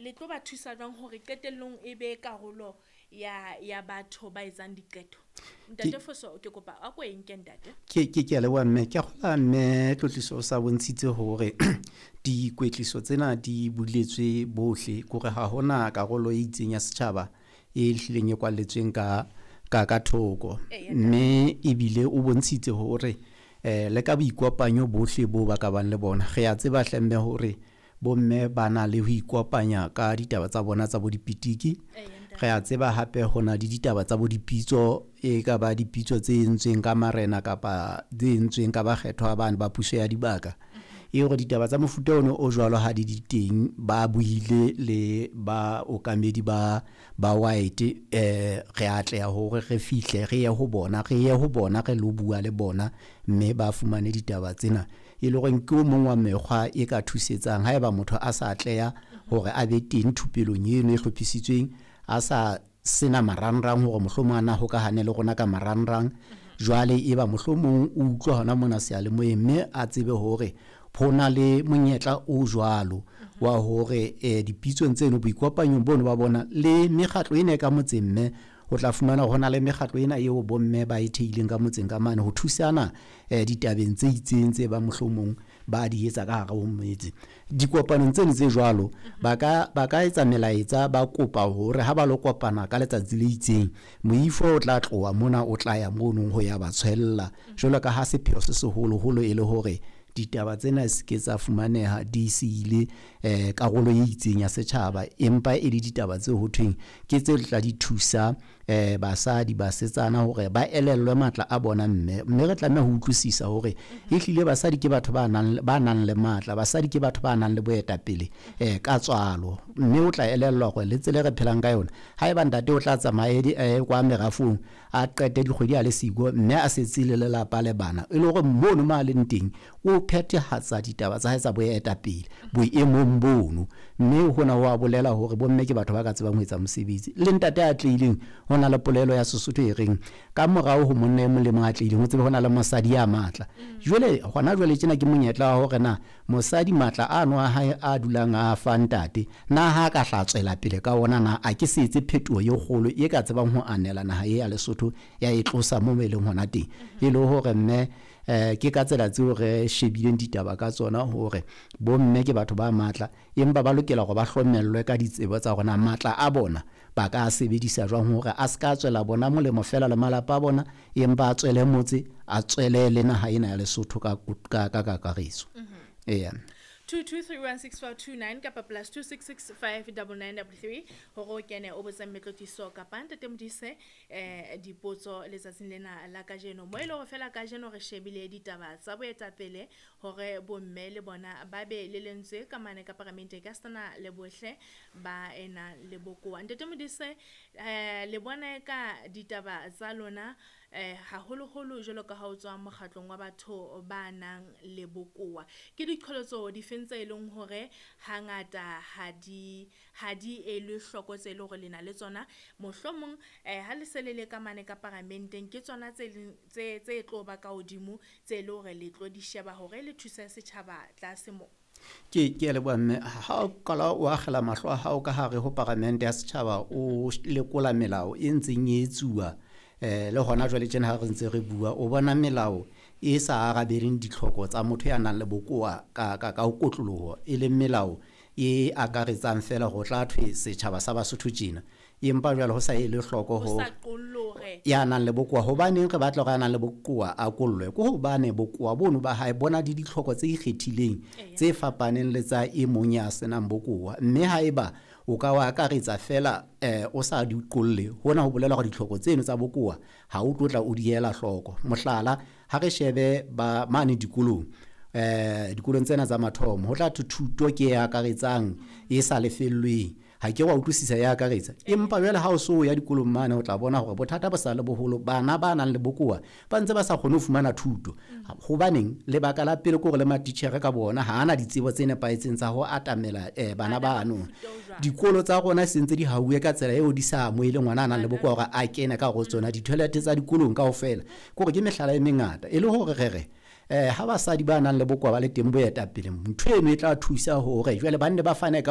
Le tlo ba thusa jwang hore qetellong e be karolo ya batho ba etsang diqeto? Ntate Foso, ke kopa a ko e nke, ntate. Ke a leboha, mme. Ke a kgolwa, mme Tlotliso o sa bontshitse hore dikwetliso tsena di buletswe bohle, kore ha hona karolo e itseng ya setjhaba e hlileng e kwalletsweng ka thoko. Mme ebile o bontshitse hore le ka boikopanyo bohle bo ba ka bang le bona. Re a tseba hle, mme, hore bomme ba na le ho ikopanya ka ditaba tsa bona tsa bo dipitiki. Re a tseba hape ho na le ditaba tsa bo dipitso, e ka ba dipitso tse entsweng ka marena kapa tse entsweng ka bakgethwa bane ba puso ya dibaka. E hore ditaba tsa mofuta ono o jwalo ha di di teng, ba buile le ba okamedi ba white, re atleha hore re fihle re ye ho bona, re lo bua le bona, mme ba fumane ditaba tsena. E le hore ke o mong wa mekgwa e ka thusetsang haeba motho a sa atleha hore a be teng thupelong eno e hlophisitsweng, a sa sena marangrang hore mohlomong a na hokahane le rona ka marangrang. Jwale e ba mohlomong o utlwa hona mona seyalemoyeng, mme a tsebe hore ho na le monyetla o jwalo wa hore dipitsong tseno, boikopanyong bono ba bona le mekgatlo ena e ka motseng, mme o tla fumana hore ho na le mekgatlo ena eo bomme ba e theileng ka motseng ka mane ho thusana ditabeng tse itseng tse bang mohlomong ba di etsa ka hare ho metse. Dikopanong tseno tse jwalo ba ka etsa melaetsa, ba kopa hore ha ba lo kopana ka letsatsi le itseng, moifo o tla tloha mona o tla ya mono ho ya ba tshwella. Jwalo ka ha sepheo se seholoholo e le hore ditaba tsena se ke tsa fumaneha di siile karolo e itseng ya setjhaba, empa e le ditaba tse ho thweng ke tse tla di thusa basadi, basetsana hore ba elellwe matla a bona. Mme re tlameha ho utlwisisa hore ehlile basadi ke batho ba nang le matla, basadi ke batho ba nang le boetapele ka tswalo. Mme o tla elellwa hore le tsela e re phelang ka yona, haeba ntate o tla tsamaya kwa merafong a qete dikgwedi a le siko, mme a setse le lelapa le bana, e le hore mono mo a leng teng o phethahatsa ditaba tsa hae tsa boetapele boemong bono. Mme hona ho a bolela hore bomme ke batho ba ka tsebang ho etsa mosebetsi. Le ntate a atlehileng, ho na le polelo ya Sesotho e reng ka morao ho monna e mong le mong a atlehileng, ho tsebe ho na le mosadi ya matla. Jwale hona jwale tjena ke monyetla wa hore na mosadi matla ano a hae a dulang a fa ntate, na ha ka hla tswela pele ka ona, na a ke se etse phetoho e kgolo e ka tsebang ho anela naha e ya Lesotho ya e tlosa mo e leng hona teng. E le hore mme ke ka tsela tseo re shebileng ditaba ka tsona hore bomme ke batho ba matla, empa ba lokela hore ba hlomellwe ka ditsebo tsa hore na matla a bona ba ka sebedisa jwang hore a ska tswela bona molemo fela le malapa a bona, empa a tswele motse, a tswele le naha ena ya Lesotho ka kakaretso. Eya. 22316429 kapa +266 59933 hore o kene o botse Mmetlotliso kapa ntate Modise dipotso letsatsing lena la kajeno, mo e le hore fela kajeno re shebile ditaba tsa boetapele hore bomme le bona ba be le lentswe ka mane ka paramente ka sena le bohle ba ena le bokowa. Ntate Modise, le bona ka ditaba tsa lona, haholoholo jwalo ka ha o tswa mokgatlong wa batho ba nang le bokowa, ke diqholotso difeng tse leng hore hangata ha di elwe hloko tse leng hore le na le tsona, mohlomong ha le se le le ka mane ka paramenteng, ke tsona tse tlo ba ka hodimo tse leng hore le tlo di sheba hore le thuse setjhaba tlase mo? Ke a leboha, mme. Ha o qala o akgela mahlo a hao ka hare ho paramente ya setjhaba, o lekola melao e ntseng e etsuwa le hona jwale tjena ha re ntse re bua, o bona melao e sa arabeleng ditlhoko tsa motho ya nang le bokowa ka ho kotloloho, e leng melao e akaretsang fela ho tla thwe setjhaba sa Basotho tjena, empa jwale ho sa ele hloko ho ya nang le bokowa. Hobaneng re batla hore ya nang le bokowa a kollwe? Ke hobane bokowa bono ba hae bona le ditlhoko tse ikgethileng tse fapaneng le tsa e mong ya senang bokowa. Mme haeba o ka wa akaretsa fela o sa di qolle, hona ho bolela hore ditlhoko tseno tsa bokowa ha o tlotla o di ela hloko. Mohlala, ha re shebe ba mane dikolong, dikolong tsena tsa mathomo, ho tla thwe thuto ke e akaretsang e sa lefellweng. Ha ke wa utlwisisa ya akaretsa, empa jwale ha o so ya dikolong mane, o tla bona hore bothata bo sa le boholo. Bana ba nang le bokowa ba ntse ba sa kgone ho fumana thuto. Hobaneng? Lebaka la pele ke hore le matitjhere ka bona ha ana ditsebo tse nepahetseng tsa ho atamela bana bano. Dikolo tsa rona se ntse di hauwe ka tsela eo di sa amohele ngwana a nang le bokowa hore a kene ka hare ho tsona. Di-toilet tsa dikolong kaofela, ke hore ke mehlala e mengata e le hore re re ha basadi ba nang le bokowa ba le teng boetapeleng, ntho eno e tla thusa hore jwale ba nne ba fane ka